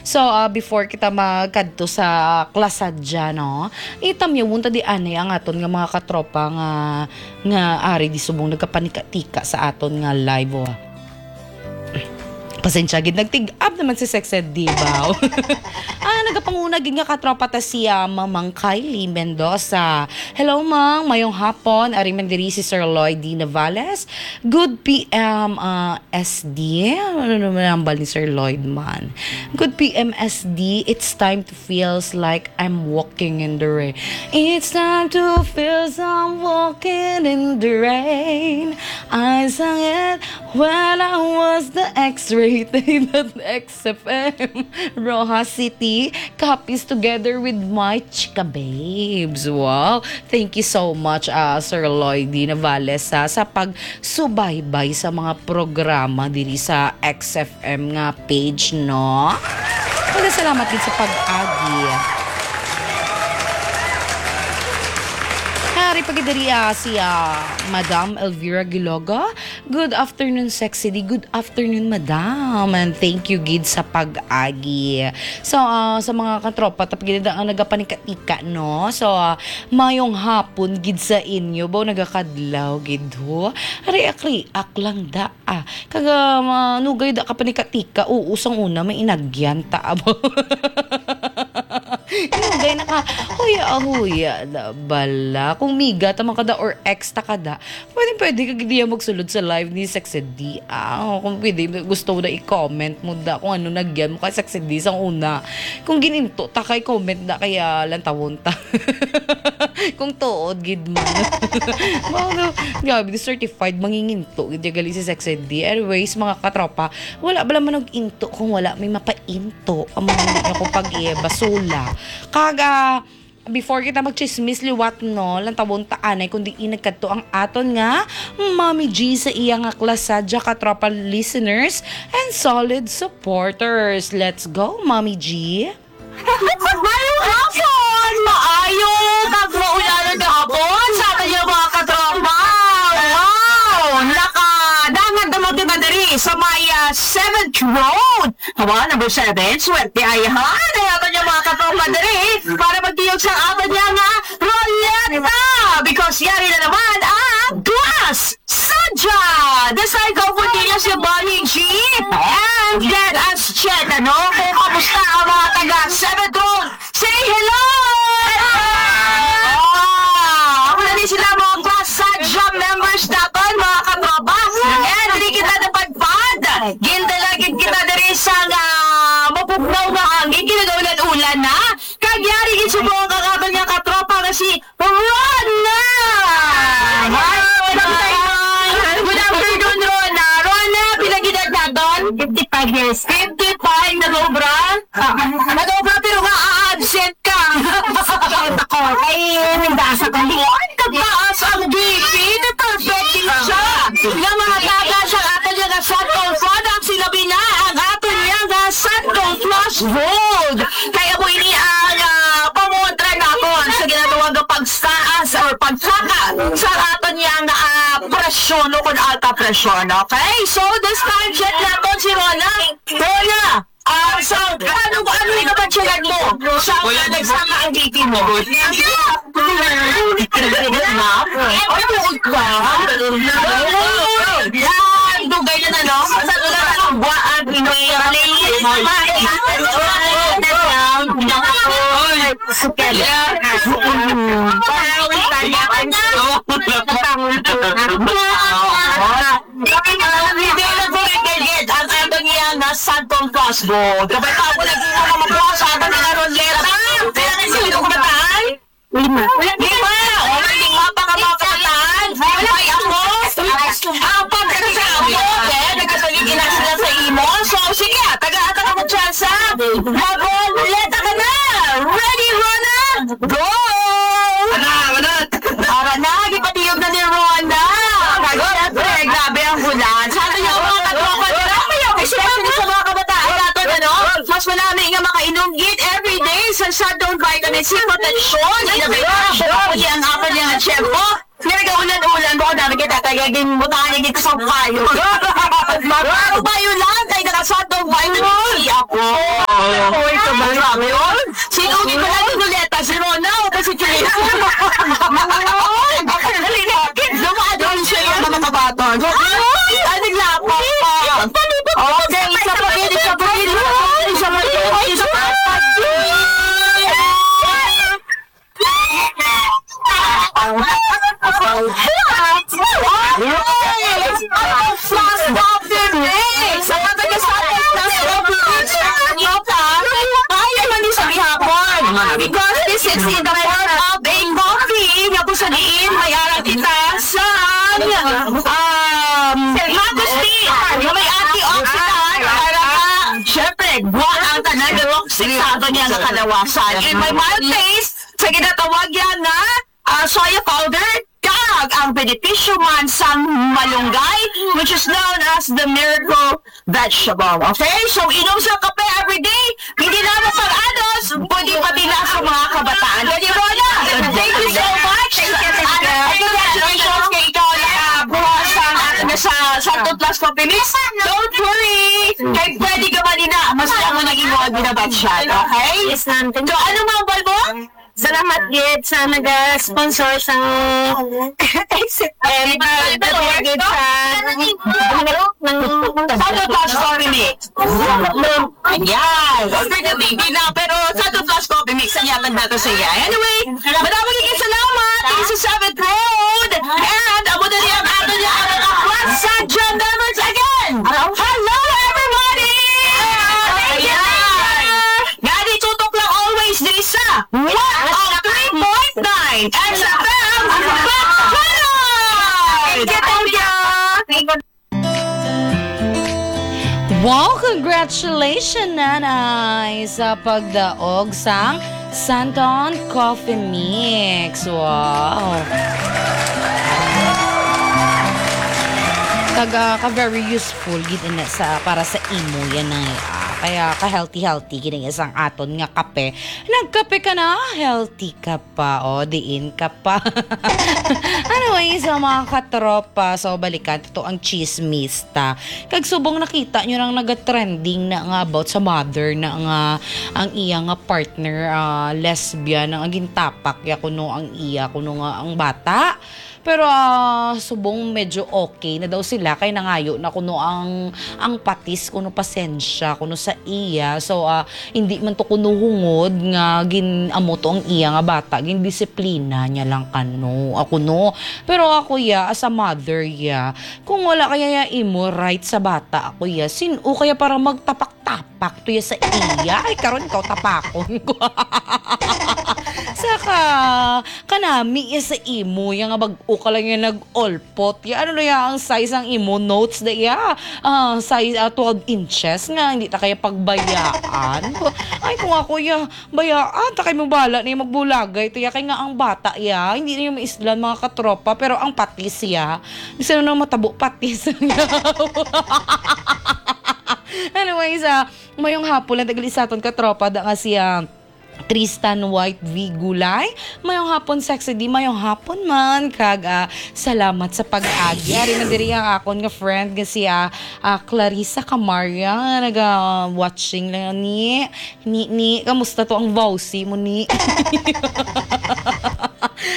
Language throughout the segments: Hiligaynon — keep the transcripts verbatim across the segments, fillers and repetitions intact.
So, ah, before kita magkadto sa Class Sadya, no? Itamyawon ta di anay ang aton nga mga katropa nga, nga ari di subong nagkapanika-tika sa aton nga live, oh. Pasensya gid, nagtig-up naman si Sexed, di ba? Ah, nagapanguna gid nga katropa ta siya, Mamang Kylie Mendoza. Hello, Mang. Mayong hapon. Ari man diri si Sir Lloyd D. Navales. Good P M, ah, S D. Ano naman ang bal ni Sir Lloyd man? Good P M S D, it's time to feels like I'm walking in the rain. It's time to feel some walking in the rain. I sang it when I was the X-rated at X F M Roxas City. Copies together with my chika babes. Wow. Thank you so much, ah, Sir Lloyd D. Navales, ha, sa pagsubaybay sa mga programa diri sa X F M nga page, no? Wala, salamat gid sa pag-agi. Hari pa gid diri, ah, si, ah, Madam Elvira Giloga. Good afternoon, Sexy D. Good afternoon, Madam. And thank you gid sa pag-agi. So, ah, sa mga katropa, tapos gid ang nagapanika-tika, no? So, ah, mayong hapon gid sa inyo. Baw nagakadlaw gid, ho? Ari, akri-ak lang da, ah. Kaga, manugay da ka panika-tika. Oo, sang una, may inagyan ta, abo. Inugay na ka. Huya, huya, da, bala. Kung miga, tama ka da, or ex ta ka da, pwede, pwede ka gid diya magsulod sa live ni Sexy D. Ah, oh, kung pwede, gusto mo na i-comment mo da kung ano nagyan mo kay Sexy D sang una. Kung gininto ta kay comment na kaya lantawon ta. Kung tuod gid man. Mao no, grabe, di certified manginginto gid ya gali si Sexy D. Anyways, mga katropa, wala bala man og into kung wala may mapainto. Ang mga hindi niyo ko pag-ibasula. Kaga, before kita magchismis liwat, no, lantawon ta anay kung diin nagkadto ang aton nga Mommy G sa iya nga klasa, dya katropa listeners and solid supporters. Let's go, Mommy G! Maayong hapon! Maayo kag maulan nga hapon sa aton nga mga katropa. Wow! Nakadangat naman kita diri sa may, ah, seventh Road. Hawa, number seven, swerte ay ha. Kaya ba niya mga katropa diri? Para magtiyog sa aton niya nga Roleta. Because yari na naman ang Class Sadya. This time, ko po din si Bonnie G. And let us check, ano, kung kamusta ang mga taga Seventh Road. Say hello! Ah, ako na ni sila, mga Class Sadya members naton, mga katropa. And dili kita napadpad. Gindala gid kita diri sa nga mapugnaw nga hangin, kinagaulan-ulan na. Kag yari gid subong ang aton nga katropa nga si Rona! Hi, Rona! Good afternoon, Rona. Rona, pila gid edad naton? Fifty-five years. Fifty-five, nag-obra? Nag-obra pero nga absent ka. Sakit ako. Ay, nagdasa ka. Buwan ka taas ang B P. Perfect din siya. Nga mga taga sa aton nga Santol products, sila bina ang aton nga Santol Plus Gold. Kaya mo ini ang, ah, pangontra naton sa ginatawag nga pagsaas or pagsaka sa aton nga, ah, presyon o kung alta presyon. Okay? So, this time, check naton si Rona. Rona, ah, so, ano, ano yung nabatsilan mo sa mga nagsama ang B P mo? Ay, buod ka. Yan, dugay na na, no? Sa una na lang, buwaan, Pinoy, Malay. Ang aton nga nga Santol Plus Gold. Kapag ako lagi mo na magkuha sa aton nga Roleta. Pila na sila kabataan? Lima. Lima! O, lima pa ka mga kabataan. Ay, ako. Ang pagkakita mo, eh, nagkasagig ina sila sa imo. So, sige, tagaan ta kamo tsansa. Mag-Roleta ka na! Ready, Rona? Go! Ana, ana. Ara na, gipatiyog na ni Rona. Kag syempre, grabe ang ulan. Sa aton nga mga katropa, especially sa mga kabataan naton, ano? Mas manami nga makainom gid everyday sa Santol Vitamin C Protection. Innovation, ang aton nga tiyempo. Pero gaulan-ulan, bako dami kita, kaya ginbutangan niya dito sa payo. Mga payo lang, kay naka-Santol Vitamin C ako. Oy, kabay. Grabe, oh. Sino di ba natin ulit? Si Rona o ba si Chris? Dali na. Dumaan doon siya yung mga kabaton. Ay! Ay, naglapa pa. Okay, isa pa din, isa pa din, isa pa din, isa pa din, isa pa din. Yes! Ang mga taga-South Beach, ay, man di sa gihapon. Because this is in the form of a coffee. Nga kung sa diin, may ara kita sa, um, mango tea. Nga may antioxidant. Para ka, syempre, buwan ang tanan nga toxic sa ato niya nga kalawasan. And may mild taste, sa ginatawag niya nga, ah, soya powder, kag ang benepisyo man sang malunggay, which is known as the miracle vegetable. Okay? So, inom sa kape every day, hindi lamang pag-anos, pwede pati na sa mga kabataan. Kaya, Rona, thank you so much. And congratulations kay ikaw na buha sa atin sa Santo Plus Coffee Mix. Don't worry, kay pwede ka man ina, mas lang mo naging mga binabatsyat, okay? Yes, ma'am. Thank So, you. Ano, ma'am, Balbo? Salamat gid sa naga-sponsor sa Exit M. Salamat gid sa Santo Plus Coffee Mix. Ayan. Sige, baby na, pero Santo Plus Coffee Mix, ang yatag nato sa iya. Anyway, madami kayong salamat. Thank you sa Seventh Road. And amo na rin ang ato niya, ang mga Plaza Gym members again. Hello, everybody! Thank you, thank you. Ayan. Gani, tutok lang always diri sa one oh three point nine X F M Bacolod! Thank you, thank you. Wow, congratulations, Nanay, sa pagdaog sang Santon Coffee Mix. Wow. Kag, ah, ka very useful gid ina sa, para sa imo yan ay, ah, kaya ka healthy healthy gid ang isang aton nga kape. Nagkape ka na, healthy ka pa, o, diin ka pa. Anyway, sa mga katropa, so balikan to ang chismis ta. Kag subong nakita nyo nang naga-trending na nga about sa mother na nga ang iya nga partner, ah, lesbian, ang gintapak ya kuno ang iya kuno nga ang bata. Pero, ah, subong medyo okay na daw sila kay nangayo na kuno ang, ang patis kuno pasensya kuno sa iya. So, ah, hindi man to kuno hungod nga gin-amo to ang iya nga bata, gindisiplina niya lang kano, ako no. Pero ako ya, as a mother ya, kung wala kaya ya imo right sa bata, ako ya, sin-o kaya para magtapak-tapak to ya sa iya? Ay, karon ikaw tapakon ko. Saka, kanami ya sa imo ya nga bag-o ka lang ya nag-olpot ya. Ano na ya ang size ang imo notes da ya? Ah, size, ah, twelve inches nga, hindi ta kaya pagbayaan. Ay, kung ako ya, bayaan ta kay mo bala na ya magbulagay to ya. Kay nga ang bata ya, hindi na yung maislan mga katropa, pero ang patis ya, bisan na matabo patis. Anyways, ah, mayong hapon lang dagli sa aton katropa da nga siya Tristan White V Gulay. Mayong hapon, Sexy D. Mayong hapon man. Kag, ah, salamat sa pag-agi. Ari na diri ang akon nga friend nga si, ah, ah, Clarissa Camarga. Naga-watching lang ni, ni, ni. Kamusta to ang Vauci mo ni?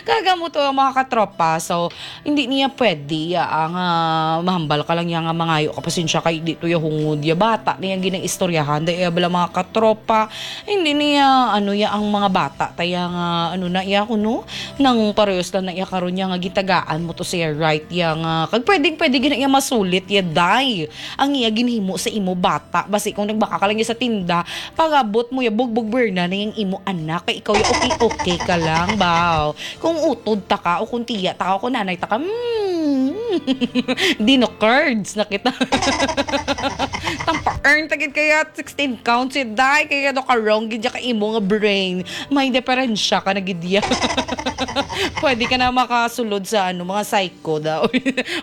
Kag amo to ang mga katropa. So, hindi niya pwede ya ang, ah, mahambal ka lang ya nga mangayo ka pasensya kay di to ya hungod ya bata niya ginang istoryahan da iya bala mga katropa. Hindi niya, ano, ya ang mga bata, taya nga, ano na iya, kuno, nang parehos lang na iya karon niya nga gitagaan mo to siya right ya nga, kag pwedeng, pwede gina iya masulit ya, day. Ang iya ginhimo sa imo bata, basi kung nagbaka ka lang ya sa tinda, pag-abot mo ya, bugbog berna na yang imo anak, kay ikaw ya, okay, okay ka lang, baw. Kung utod ta ka, o kung tiya ta ka, o kung nanay ta ka, hmm, dino curds na kita. Tampa-earn ta gid kaya sixteen counts yun, day. Kaya do karong gid ka imo nga brain. May diferensya ka na gid ya. Pwede ka na makasulod sa, ano, mga psycho daw.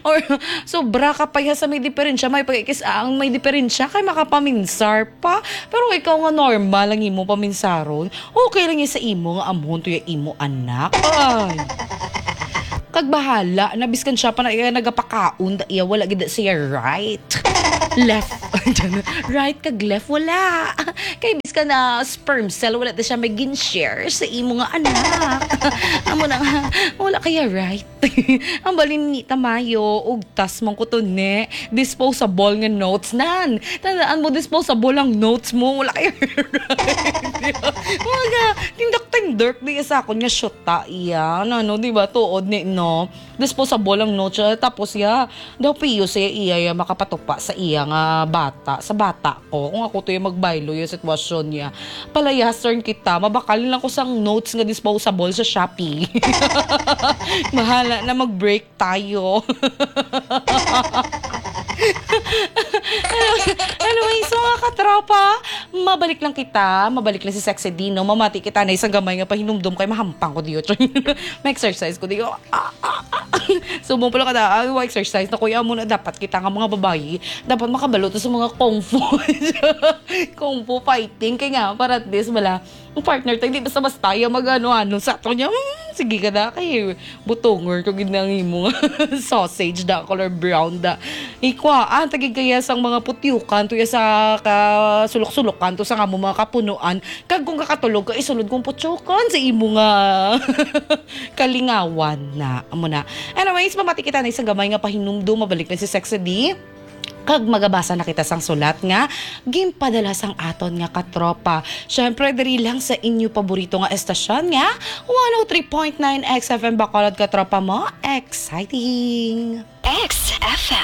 Or, sobra ka pa ya sa may diferensya. May pagkikis ang may diferensya kay makapaminsar pa. Pero ikaw nga normal ang imo paminsaron. Okay lang ya sa imo nga amhon to ya imo anak. Ay. Kag bahala na, biskan siya pa na iya nagapakaon, da iya wala gid siya right. Left. Right kag left, wala. Kay biskan na sperm cell, wala na siya may gin-share sa imo nga anak. Amo na nga, wala kaya right. Ang balin ni Tamayo, ugtas man ko to, ne. Disposable nga notes, nan. Tandaan mo, disposable ang notes mo. Wala kaya right. Mga tindok-tindok, di sa akon nga syota, iya. Ano, di ba? Tuod ni, no? Disposable ang notes, ah, tapos, ya, daw piyo siya, iya, ya, makapatupa sa iya nga bata, sa bata ko. Kung ako to yung magbaylo yung sitwasyon niya. Palayasern kita, mabakal lang ko sang notes nga disposable sa Shopee. Bahala na, mag-break tayo. Anyway, so, mga katropa, mabalik lang kita, mabalik lang si Sexy Dino, mamati kita na isang gamay nga pahinumdom kay mahampang ko diyo. May exercise ko diyo. Ah, ah, ah. Subong pala kada, ah, wa exercise na kuya mo na dapat kita nga mga babayi, dapat makabalo to sa mga kung fu. Kung fu fighting, kay nga, para at least wala, ang partner tayo, di basta-basta yung mag-ano-ano sa ato niya. Hmm, sige ka na, kay butongor ko gid na ang imo nga sausage da, color brown da. Ikwa, ah, tagig kaya sang mga putyukan, tuya sa kasulok-sulokan, to sa nga mo mga kapunuan. Kag kung kakatulog ka, isulod kong putyukan sa imo nga kalingawan na. Amo na. Anyways, mamati kita na isang gamay nga pahinumdom. Mabalik na si Sexy D. Kag magabasa na kita sang sulat nga ginpadala sang aton nga katropa. Syempre, diri lang sa inyo paborito nga estasyon nga one oh three point nine X F M Bacolod, katropa mo. Exciting! X F M.